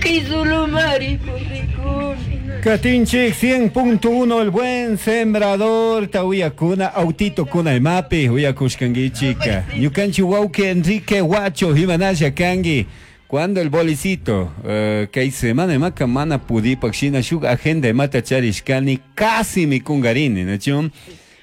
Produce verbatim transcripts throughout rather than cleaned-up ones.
Llaki sulumari purikuni. Katinchik cien punto uno El Buen Sembrador ta uyakuna autito kuna imapi uyakushkankichika. Ñukanchik wawki Enrique Huacho, imanalla kanki? Cuando el bolicito? uh, kay semana imaka mana pudipak shina shuk agenda imata charishkani, casi mi kungarini, nachu?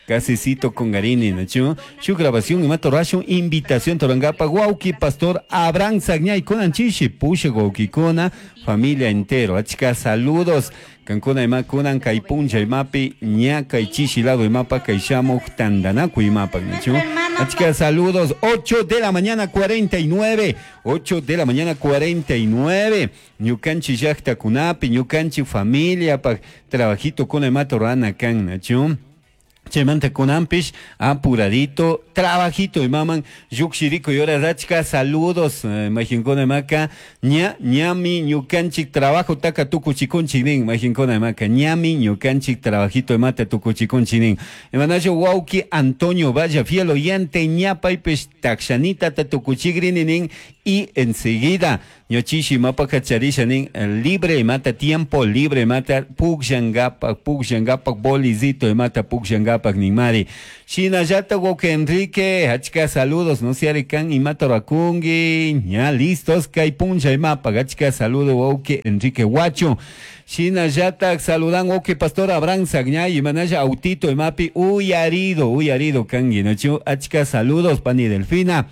Casi cito kungarini, nachu? Shuk grabación imata rashun, invitación torangapa wawki pastor Abraham Sagñay kunan chishi pusha wawkikuna familia entero. Achka saludos. Kankuna ima kunan kay puncha imapi ña kay chishi lado imapa kay shamuk tandanaku imapa, nachu? Achka saludos. ocho de la mañana cuarenta y nueve. ocho de la mañana cuarenta y nueve. Ñukanchi llakta kunapi, ñukanchi familia pa trabajito kuna imata rana kan, nachu? Chaymanta kunanpish apuradito trabajito imaman llukshiriko y hora. Achka saludos, eh, majinkuna imaka ña ñami ñukanchik trabajo taka tukuchikunchik nin majinkuna imaka ñami ñukanchik trabajito imata tukuchikunchik nin. Imanacho wawki Antonio Valla, fiel oyente, ña paypish takshanita ta tukuchigrini nin y enseguida ñochishi mapaka charisha nin libre imata, tiempo libre imata pukshangapak pukshangapak bolizito imata pukshangapak ninmari. Shinallata wawki Enrique, achka saludos, no se kan imata rakungi, ña listos kay puncha imapa. Achka saludo, wawki Enrique Huacho. Shinallata saludan wawki pastor Abraham Sagñay, imanalla autito imapi uyarido uyarido kangi, nachu? Achka saludos, pani Delfina.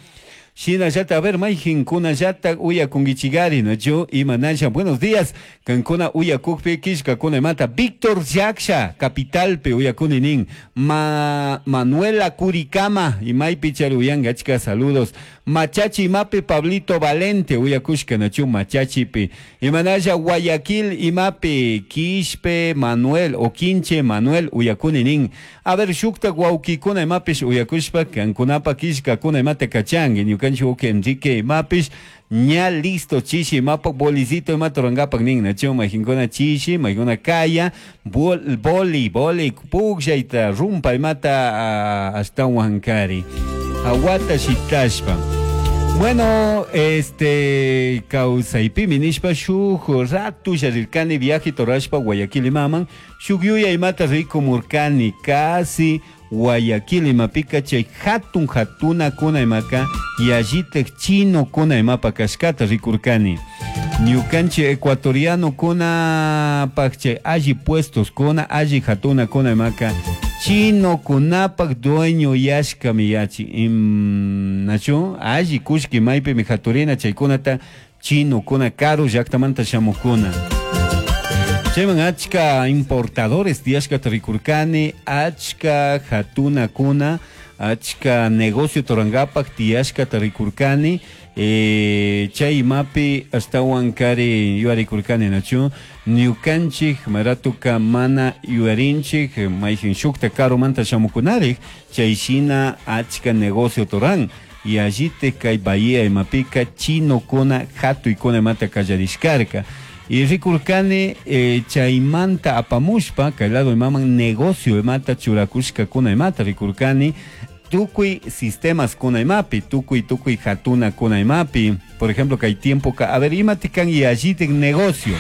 Shinallata, a ver, mayjinkunallata uyakunkichigari, nachu? Imanalla, buenos días. Kankuna uyakukpi kishkakuna imata. Víctor Yaksha, capitalpi uyakuni nin. Ma Manuela Curicama, imaypi chari uyanga, achka saludos. Machachi imapi Pablito Valente, uyakushka, nachu? Machachipi. Imanalla Guayaquil imapi Quispe Manuel, o Quinche Manuel, uyakuni nin. A ver, shukta wawkikuna imapish uyakushpa, kankunapa kishkakuna imata kachangi, ñukanchik wawki Enrique imapish, ña listo chishi imapa bolicito imata rurangapak nin, nachu? Majinkuna chishi, majinkuna kaya, bol, boli, boli, pukllayta, rumpa imata uh, ashtawan kari. Hawata shitashpa. Bueno, este kawsaypimi nishpa shuk ratu rirkani viaje torashpa Guayaquil imaman, shuk yuya imata rikumurkani casi Guayaquil imapika chay hatun hatuna kuna imaka yallitek chino kuna imapa kashkata rikurkani. Ñukanchik ecuatoriano kuna pak chay alli puestos kuna alli hatuna kuna imaka chino kunapak dueño yashkami yachi im, nachu? Alli kushki maypimi haturina chaykunata chino kuna karu llaktamanta shamukuna. Chayman achka importadores tiyashkata rikurkani, achka hatuna kuna, achka negocio torangapak tiyashkata rikurkani, eh, chay imapi ashtawan kari yuyarikurkani, nachu? Ñukanchik maratuka mana yuyarinchik mayjin shukta karumanta shamukunarik chay shina achka negocio toran y allitik kay bahía imapika chinokuna hatuykuna imata kallarishkarka y rikurkani eh, chaymanta apamushpa kay lado imaman negocio imata churakushkakuna imata rikurkani tukuy sistemas kuna imapi, tukuy tukuy hatuna kuna imapi. Por ejemplo, kay tiempo ka, a ver, imati kan yallitik negocio.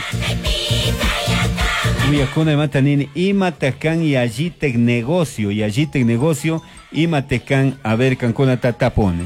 Uyakuna imata nini, imata kan yallitik negocio, yallitik negocio, imate kan, a ver, kankuna tatapone.